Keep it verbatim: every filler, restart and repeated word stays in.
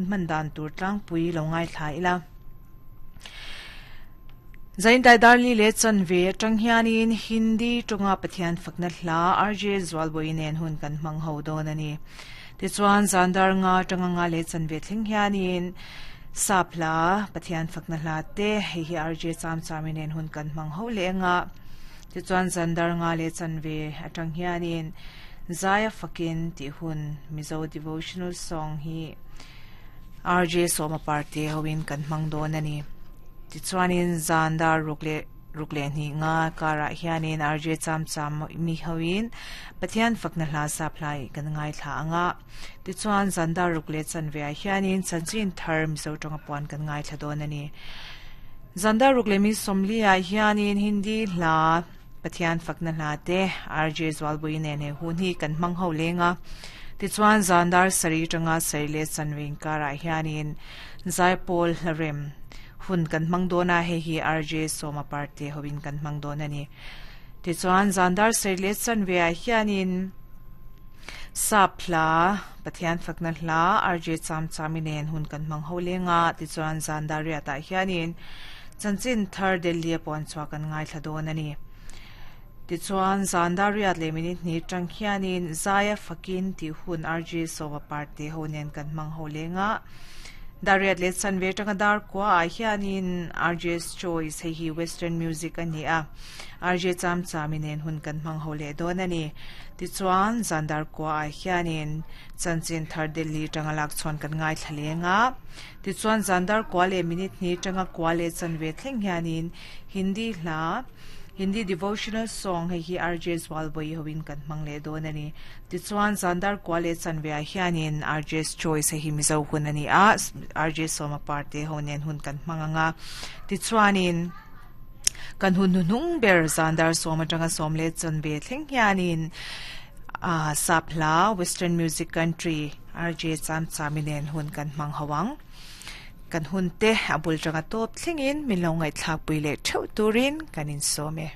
man dan tur tlang pui lo ngai thla ila Zain dai darli le chanve atang hianin Hindi tonga Pathian fakna hla R J Zwalboi nen hun kan hmang ho dawn ani. Tichuan zandar nga tanga nga le chanve thleng hianin sapla Pathian fakna hla te hei hi R J cham chami nen hun kan hmang ho le nga. Tichuan zandar nga le chanve atang hianin Zaya fakin ti hun Mizo devotional song hi R J Soma Parte hoin kan hmang dawn ani. Tichuanin zandar rukle rukle ni nga kara hianin R J cham cham mi hoin Pathian fakna hla saplai kan ngai thla anga. Tichuan zandar rukle chanve hianin chanchin thar Mizo tonga puan kan ngai thla dawn ani. Zandar rukle mi somlia hianin Hindi hla Pathian fakna hla te R J Zwalbui ne ne hun hi kan hmang ho lenga. Tichuan zandar sari tanga sarile chanwing kara hianin Zaipol hlarem hun kan hmang dona he hi R J Soma Parte hoin kan hmang dona ni. Tichuan zandar sarile chanwe hianin sapla Pathian fakna hla R J cham chaminen hun kan hmang ho lenga. Tichuan zandar ria ta hianin chanchin thar Delhi pon chwa kan ngai thla dona ni. Tichuan zandar riat le minute ni tang hianin Zaya fakin ti hun R J Soma Parte honen kan hmang ho lenga. Dariat le chanve tanga dar kwa a hianin R J's Choice hei hi Western music ani a. R J cham chaminen hun kan hmang ho le don ani. Tichuan zandar kwa a hianin chanchin thar Delhi tanga lak chon kan ngai thlalenga. Tichuan zandar kwa le minute ni tanga kwa le chanve thleng hianin Hindi hla Hindi devotional song hei hi R J Zwalboi hoin kan hmang le don ani. Tichuan zandar kwa le chanve a hianin R J's Choice hei hi Mizo hun ani a. R J Soma Parte honen hun kan hmang anga. Tichuanin kan hun nung ber zandar soma tanga som le chanve thleng hianin a sapla Western music country R J cham chaminen hun kan hmang hawang. Kan hun te abul tanga top thlengin min lo ngai thlak pui le theu turin kanin some.